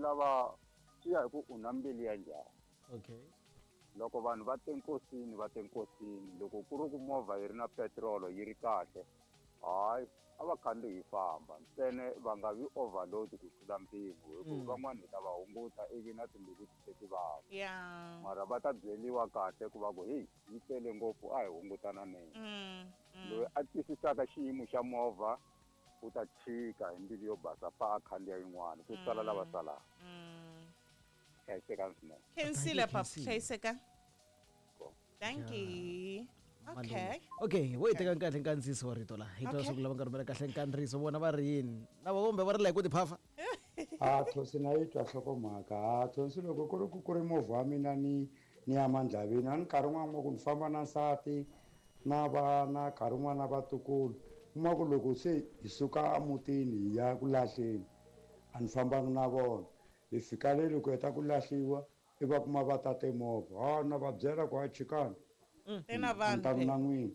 lava swi ya hi ku u na mbilu ya njhani. Okay. Loko vanhu va te nkosini va te nkosini, loko ku ri ku movha yi ri na petirolo yi ri kahle, hayi a va khandziyi hi famba ntsena, va nga vi overload ku tlula mpimo, hi ku van'wana hi ta va hunguta ivi na timbilu ti tlhe ti vava. Mara va ta byeriwa kahle ku va ku heyi yi tele ngopfu, a hi hungutananeni. Loyi a twisisaka xiyimo xa movha u ta chika hi mbilu yo basa pa a khandziya yin'wana, ku sala lava salaka. Hlayisekani swinene. Khensile Thank you, papa, Khensile. hlayiseka. Ko. Thank you. Okay. Okay, wo yi teka kahle nkandziyiso wa rito laha hi twa leswaku lava nga rhumela kahle nkandziyiso vona va ri yini, lava kumbe va ri la hi ku tiphafa. A Thonsi na yi twa nhlokomhaka. A Thonsi, loko ku ri ku ku ri movha wa mina ni ni ya mandlavini, a ni nkarhi wun'wana kuma ku ni famba na nsati na vana, nkarhi wun'wana na vatukulu, kuma ku loko se hi suka emutini hi ya ku lahleni, a ni fambangi na vona. Hi fika le loko heta ku lahliwa, i va kuma va tate movha, ha na va byela ku ha chikani, Te na a ni vanhu tani phela. na n'wina.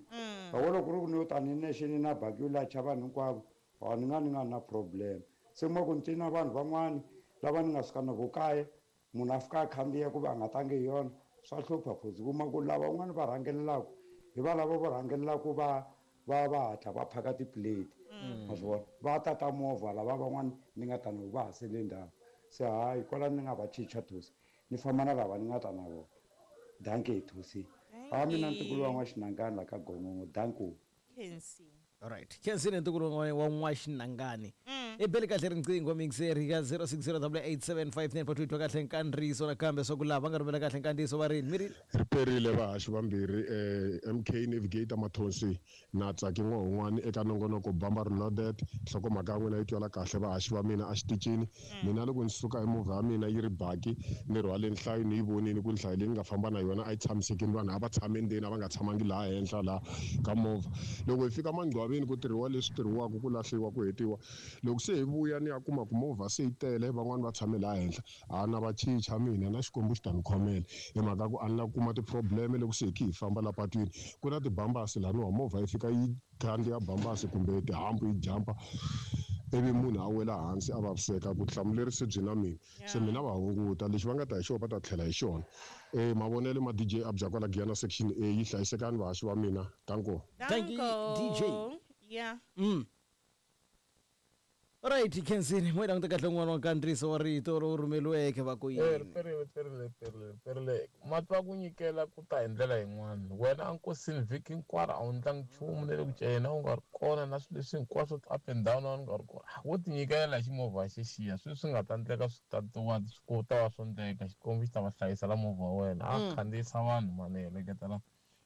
Loko loko ku ri ku ni yo tani nexe ni na baki yo lacha vanhu hinkwavo, ha ni nga na problem. Se kuma ku ni ti na vanhu van'wani lava ni nga suka na vo kaya, munhu a fika a khandziya ku va a nga tangi hi yona, swa hlupha phozi. Kuma ku lava van'wani va rhangelelaka hi va lava vo rhangelelaka va va va hatla va phaka tiplate, ma swi vona, va tata movha lava van'wani ni nga ta na vo va ha sele ndzhaku. Se hayi kwala ni nga va chicha Thosi, ni famba na lava ni nga ta na vona. Dankie Thosi. Ha mina ntukulu wa N'waxinangani la ka Gongongo, danko. Khensi. Alright, khensile ntukulu wa N'waxinangani. I beli kahle riqingho mixeri ka 0608875942, twa kahle nkandziyiso nakambe swa ku lava nga rhumela kahle nkandziyiso va ri yini mi ri. Ri perile vahaxi vambirhi, MK Navigator Mathonsi na Tsaki N'wahun'wani eka nongonoko Bamba Reloaded. Nhlokomhaka ya n'wina yi twala kahle vahaxi va mina exitichini. Mina loko ni suka hi movha ya mina yi ri baki ni rhwale nhlayo, ni yi vonile ku nhlayo leyi ni nga famba na yona a yi tshamisekile, vanhu a va tshame endzeni, a va nga tshamangi laha henhla laha ka movha. Loko hi fika mangcwaveni ku tirhiwa leswi tirhiwaka, ku lahliwa ku hetiwa. Loko se hi vuya ni ya kuma ku movha se yi tele, van'wani va tshame laha henhla, a na va chicha mina na Xikwembu xi ta ni khomela, hi mhaka ku a ni la ku kuma ti-problem loko se hi khe hi famba la patwini. Ku na tibambasi laniwa, movha yi fika yi khandziya bambasi kumbe tihambu yi jampa, ivi munhu a wela hansi a vaviseka, vutihlamuleri se byi na mina. Se mina va hunguta, lexi va nga ta hi xona va ta tlhela hi xona. Mavonelo ma DJ Abya kwala Giyani section A, yi hlayisekani vahaxi va mina. Danko. Thank you, DJ. Danko. Yeah. Alright, khensile mo yi languta kahle un'wana wa nkandziyiso wa rito lowu rhumeriweke va ku Eh, yini. riperile, riperile, riperile, riperile. Mati va ku nyikela ku ta hi ndlela yin'wana. Wena a nkosini vhiki hinkwaro a wu ndlangi nchumu na le ku cela u nga ri kona na swilo leswi hinkwaswo up and down a wu nga ri kona. Wo ti nyikela hi ximovha xexiya, sweswi swi nga ta endleka swi ta wa swi ta va swo endleka, Xikwembu xi ta va hlayisa la movha wa wena. A khandziyisa vanhu mani hi heleketa la.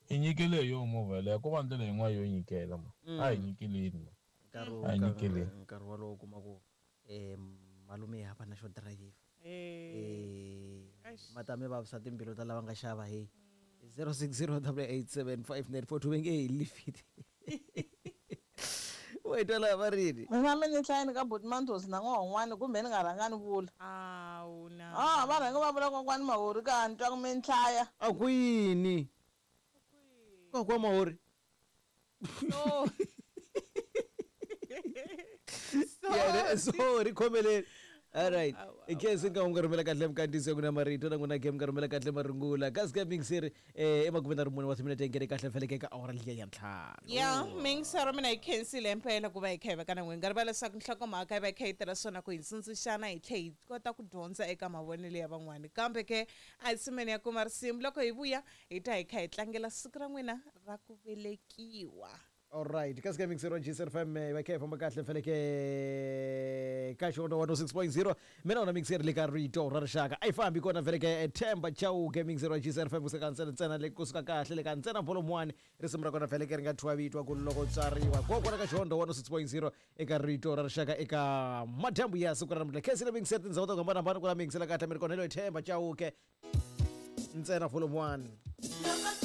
I nyikele hi yona movha yeleyo, ko va ndlela yin'wana yo nyikela ma. A hi nyikeleni ma. Nkarhi A hi nyikeleni. Nkarhi wolowo u kuma ku malume hava na xo dirayivha. Eish. Ma ta mi vavisa timbilu ta lava nga xava hey. 0608875942 va nge hi lifiti. Wa yi twa laha va ri yini? Mina mi ni hlayeni ka buti Mandhozi na n'wahun'wani kumbe ni nga rhanga ni vula. Awu na. Ah, va rhange va vula kokwani Mahori ka ni twa ku mi ni hlaya. A ku yini? Kokwa Mahori. No. Yeah, sorry, khomeleni. Alright. Awu, awu, Ikhensi nga nga rhumela kahle mkandziyiso ku na marito na n'wina game nga rhumela kahle marungula. Kasi ka mixer emakume na rimune wa timinete ngene kahle feleke ka awara liya ya ntlhanu. Ya mingisero mina yi khensile impela ku va hi kha hi va ka na n'wina. Nga rivala leswaku nhlokomhaka yi va yi kha yi tirha swona ku hi tsundzuxana hi tlhe hi kota ku dyondza eka mavonelo ya van'wani. Kambe ke a hi tshameni ya kuma risimu, loko hi vuya hi ta hi kha hi tlangela siku ra n'wina ra ku velekiwa. Alright, kasi ka mixer wa GCR FM va kha hi famba kahle feleke ka xona 106.0, mina wona mixer le ka rito ra rixaka a yi fambi kona feleke Themba Chauke, mixer wa GCR FM kusuka ntsena ntsena le kusuka kahle le ka ntsena volume 1, risimu ra kona feleke ri nga thyiwa vito ku loko tswariwa kokwana ka xona 106.0 eka rito ra rixaka eka madyambu ya siku ra namuntlha. Khensile mixer tindhawu ta ku hambanahambana ku la mixela kahle mi ri kona hi loyi Themba Chauke ntsena volume 1.